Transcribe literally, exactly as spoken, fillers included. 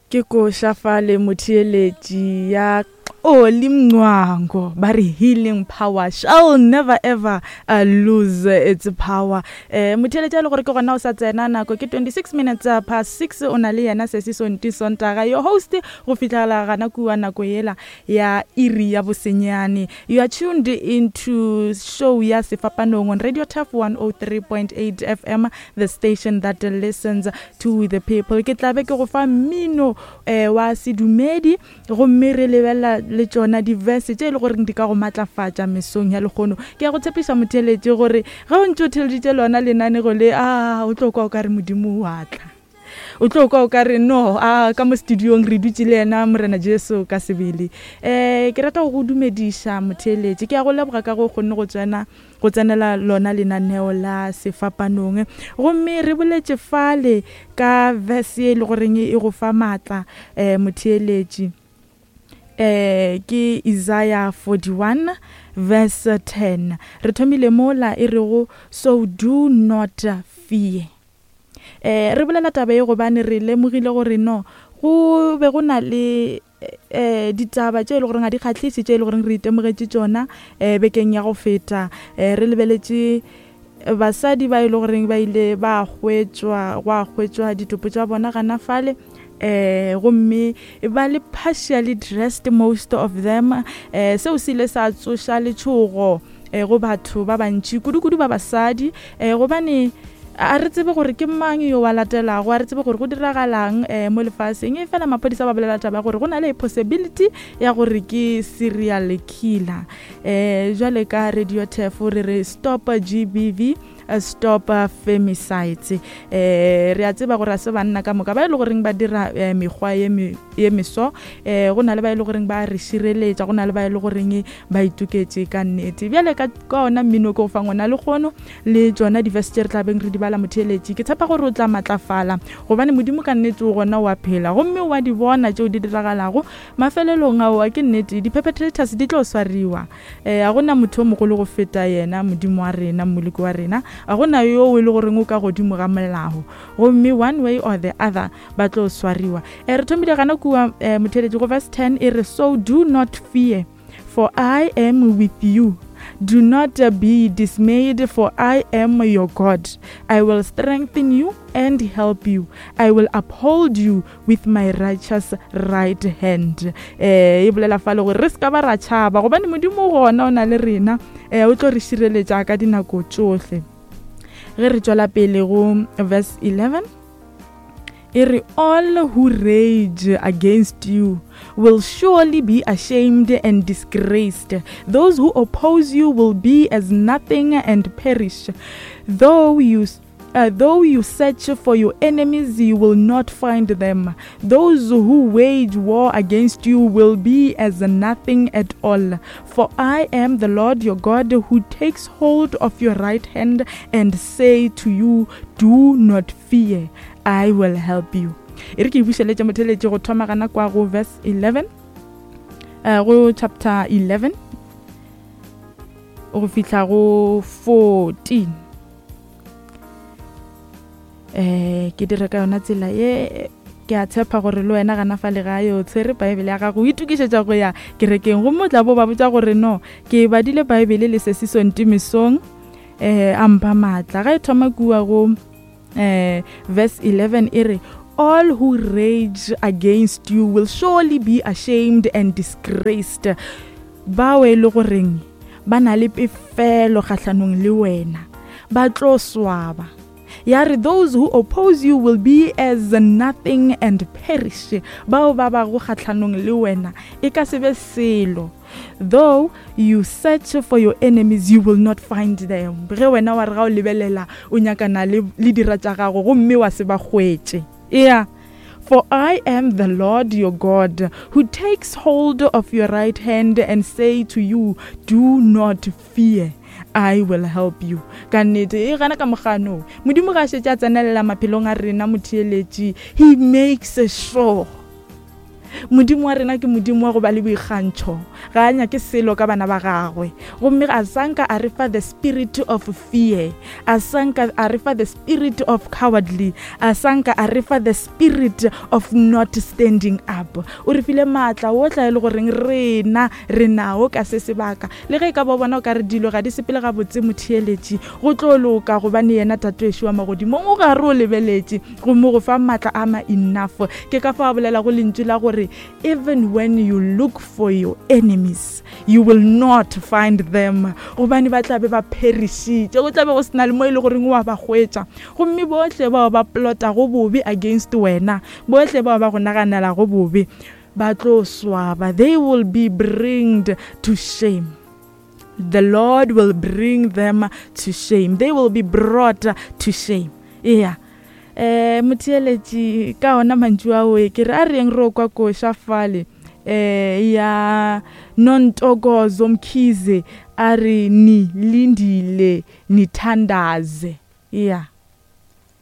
Ke koša fale motheeletši ya Oli Mncwango ba re healing power shall never ever uh, lose its power. Eh motheeletši a le gore ke gona o sa tsena, nako ke twenty-six minutes uh, past six, o na le yena Sesi Sonti Sontaga, your host, go fihlela gana kua nako yela ya iri ya bosenyane. You are tuned into show ya Sefapanong on Radio Turf one oh three point eight F M, the station that listens to the people. Ke tlabe ke go fa mmino eh, wa sedumedi, gomme re lebelela le tšona di-verse tše e le goreng di ka go matlafatša mesong ya lekgono. Ke ya go tshepiša motheeletši gore ge o ntše o theeleditše lona lenanego le, a o tlo kwa o ka re Modimo wa tla, o tlo kwa o ka re no, a ka mo studiong re dutše le yena Morena Jesu ka sebele. Eh, ke rata go go dumediša motheeletši, ke ya go leboga ka go kgonne go tsena, go tsenela lona lenaneo la Sefapanong. Gomme re boletše fale ka verse e le goreng e go fa maatla, eh, motheeletši. Eh, ke Isaiah forty-one verse ten. Re thomile mola e rego, so do not fear. Eh, re bolela taba e gobane re lemogile gore no, go be go na le, eh, ditaba tše e le goreng ga di kgahliše, tše e le goreng re itemogetše tšona, eh, bekeng ya go feta. Eh, re lebeletše basadi ba e le goreng ba ile ba hwetšwa, gwa hwetšwa ditopo tša bona gana fale, eh, gomme ba le partially dressed, most of them. Eh, seo se ile sa tsoša letšhogo, eh, go batho ba bantši, kudu-kudu ba basadi, eh, gobane a re tsebe gore ke mang yo wa latelago, a re tsebe gore go diragalang, eh, mo lefaseng. E fela maphodisa ba bolela taba ya gore go na le possibility ya gore ke serial killer. Eh, jwale ka Radio Turf re re stop G B V, stop femicides. Eh, re a tseba gore a se banna ka moka ba e le goreng ba dira, eh, mekgwa ye me-, ye meso. Eh, go na le ba e le goreng ba re šireletša, go na le ba e le goreng ba itoketše ka nnete. Bjale ka, ka ona mmino ke go fang ona lekgono le tšona di-verse tše re tla beng re di bala motheeletši, ke tshepa gore o tla matlafala gobane Modimo ka nnete o gona o a phela, gomme o a di bona tšeo di diragalago. Mafelelong ao ke nnete di-perpetrators di tlo swariwa. Eh, ga gona motho o mogolo go feta yena Modimo wa rena, Mmoloki wa rena. Ga gona yo e le goreng o ka godimo ga molao, gomme one way or the other ba tlo swariwa. Eh, re thomile gana kua, eh, motheeletši go verse ten e re, so do not fear, for I am with you. Do not be dismayed, for I am your God. I will strengthen you and help you. I will uphold you with my righteous right hand. Eh, e bolela fa le gore re se ka ba ra tšhaba, gobane Modimo gona o na le rena. Eh, o tlo re šireletša ka dinako tšohle. Ge re tšwela pele go verse eleven, e re, all who rage against you will surely be ashamed and disgraced. Those who oppose you will be as nothing and perish. Though you Uh, though you search for your enemies, you will not find them. Those who wage war against you will be as nothing at all. For I am the Lord your God, who takes hold of your right hand and say to you, do not fear, I will help you. E re ke bušeletše motheeletši go thoma gana kwa go verse eleven, uh, go chapter eleven, go fihla go fourteen. Eh, ke dire ka yona tsela ye, ke a tshepa gore le wena gana fa le gae o tshwere Bible ya gago, o itokišetša go ya kerekeng, gomme o tla bo ba botša gore no, ke badile Bible le Sesi Sonti mesong, eh, a mpha maatla. Ga e thoma kua go, eh, verse eleven e re, all who rage against you will surely be ashamed and disgraced. Bao e le goreng ba na le pefelo kgahlanong le wena, ba tlo swaba. Ya re, those who oppose you will be as nothing and perish. Bao ba bago kgahlanong le wena e ka se be selo. Though you search for your enemies, you will not find them. Ge wena wa re ga o lebelela, o nyakana le, le dira tša gago, gomme wa se ba hwetše. Yeah. For I am the Lord your God, who takes hold of your right hand and say to you, do not fear, I will help you. Ka nnete, e gana ka mogano. Modimo ga a šetše a tsenelela maphelong a rena motheeletši. He makes sure. Modimo wa rena ke Modimo wa go ba le boikgantšho, ga a nyake selo ka bana ba gagwe. Gomme a sanka a re fa the spirit of fear, a sanka a re fa the spirit of cowardly, a sanka a re fa the spirit of not standing up. O re file maatla otla e le goreng rena re nao ka se sebaka. Le ge e ka ba bona o ka re dilo ga di sepele gabotse, motheeletši, go tlo loka, gobane yena Tatoešo wa magodimong o gare o lebeletše gomme go fa maatla a ma enough. Ke ka fa a bolelago lentšu la gore even when you look for your enemies, you will not find them, gobane ba tla be ba pherišitše, go tla be go sena le mo e le goreng wa ba hwetša. Gomme bohle bao ba plotago bobe against wena, bohle bao ba go naganelago bobe, ba tlo swaba. They will be bringed to shame. The Lord will bring them to shame. They will be brought to shame. Yeah. Eh, motheeletši, ka ona mantšu ao ke re a reng re o kwa koša fale eh ya Nontokozo Mkhize, a re ni lindile nithandaze. Yeah.